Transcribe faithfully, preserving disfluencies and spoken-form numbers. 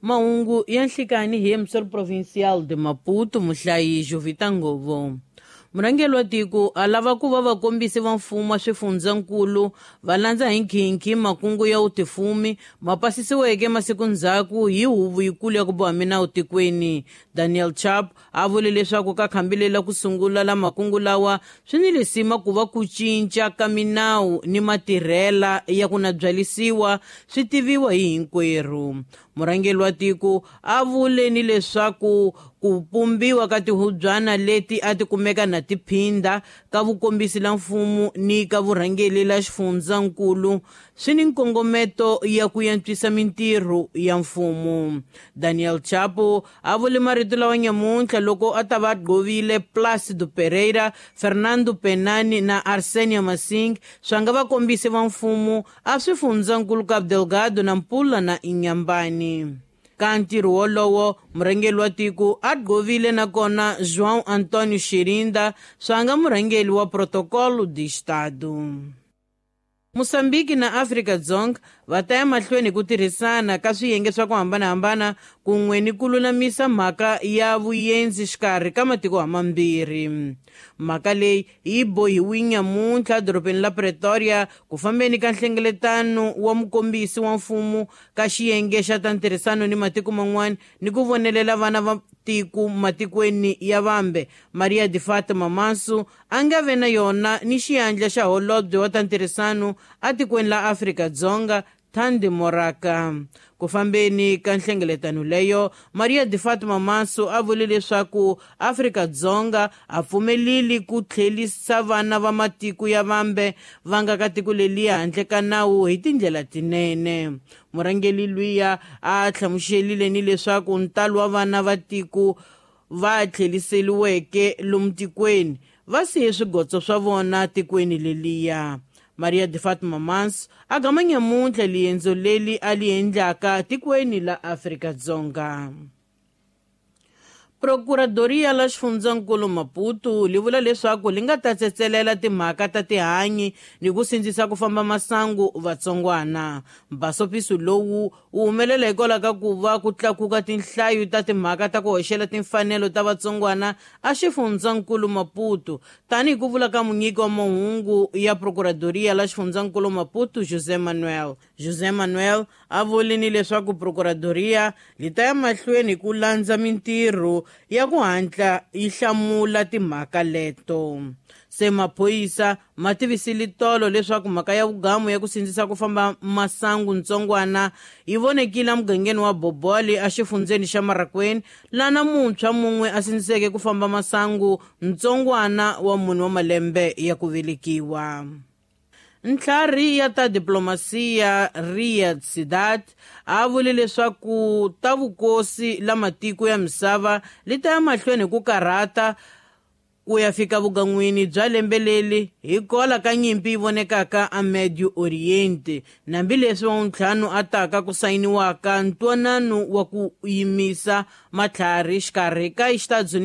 Mahungu ya nhlikani hi Emissor Provincial de Maputo, muhlayi Jovita Ngovo. Murhangeri wa tiko a lava ku va vakombisi va mfumo wa swifundzankulu va landza hi nkhinkhi makungu ya vutifumi ma pasisiweke masiku ndzhaku hi huvo yikulu ya ku boha minawu tikweni. Daniel Chapo a vule leswaku ka khambi lela ku sungula la makungu lawa swi ni lisima ku va ku cinca ka minawu ni matirhela ya ku na byalisiwa swi tiviwa hi hinkwerhu. Murhangeri wa tiko a vule ni leswaku ku pumbiwa ka tihubyana leti a ti kumeka na tiphinda ka vukombisi la mfumo ni ka vurhangeri la xifundzankulu swi ni nkongometo ya ku antswisa mintirho ya mfumo. Daniel Chapo a vule marito lawa nyamuntlha loko a ta va gqovile Plácido Pereira, Fernando Penani na Arsenio Masing swa nga vakombisi va mfumo a swifundzankulu Cabo Delgado na Nampula na Inhambane. Ka ntirho wolowo murhangeri wa tiko a gqovile nakona João Antônio Xirinda swa nga murhangeri wa Protocolo de Estado. Mozambique na Afrika-Dzonga va ta ya mahlweni ku tirhisana ka swiyenge swa ku hambanahambana kun'we ni ku lulamisa mhaka ya vuyenzi xikarhi ka matiko hamambirhi. Mhaka leyi yi bohiwe nyamuntlha edorobeni la Pretoria ku fambeni ka nhlengeletano wa mukombisi wa mfumo ka xiyenge xa ta ntirhisano ni matiko man'wana ni ku vonelela vana va tiko matikweni ya vambe. Maria de Fatima Manso a nga ve na yona ni xiyandla xa holobye wa ta ntirhisano atikweni la Afrika-Dzonga Thandi Moraka. Ku fambeni ka nhlengeletano leyo, Maria de Fatima Manso a vule leswaku Afrika-Dzonga a pfumeleli ku tlhelisa vana va matiko ya vambe va nga ka tiko leliya handle ka nawu hi tindlela tinene. Murhangeri luya a hlamuselile ni leswaku ntalo wa vana va tiko va tlheliseliweke lomu tikweni va siye swigotso swa vona tikweni leliya. Maria de Fatima Manso a gama nyamuntlha liendzo leli a li endlaka tikweni la Afrika-Dzonga. Procuradoria la xifundzankulu Maputo li vula leswaku li nga ta tsetselela timhaka ta tihanyi ni ku sindzisa ku famba masangu vatsongwana. Mbasopiso lowu wu humelela hikwalaho ka ku va ku tlakuka tinhlayo ta timhaka ta ku hoxela timfanelo ta vatsongwana a xifundzankulu Maputo, tanihi ku vula ka munyiki wa mahungu ya Procuradoria la xifundzankulu Maputo José Manuel. José Manuel a vule ni leswaku Procuradoria li ta ya mahlweni ku landza mintirho ya ku hatla yi hlamula timhaka leto. Se maphorisa ma tivisile tolo leswaku mhaka ya vugamu ya ku sindzisa ku famba masangu ntsongwana yi vonekile emugangeni wa Boboli exifundzeni xa Marraquene, lana muntshwa mun'we a sindziseke ku famba masangu ntsongwana wa munhu wa malembe ya ku velekiwa. Ntlhari ya ta diplomasiya Riyad Sadat a vule leswaku ta vukosi la matiko ya misava li ta ya mahlweni ku karhata ku ya fika vugan'wini bya lembe leri hikwalaho ka nyimpi yi vonekaka a Medio Oriente, hambileswi wavuntlhanu a taka ku sayiniwaka ntwanano wa ku yimisa matlhari xikarhi ka Estados Unidos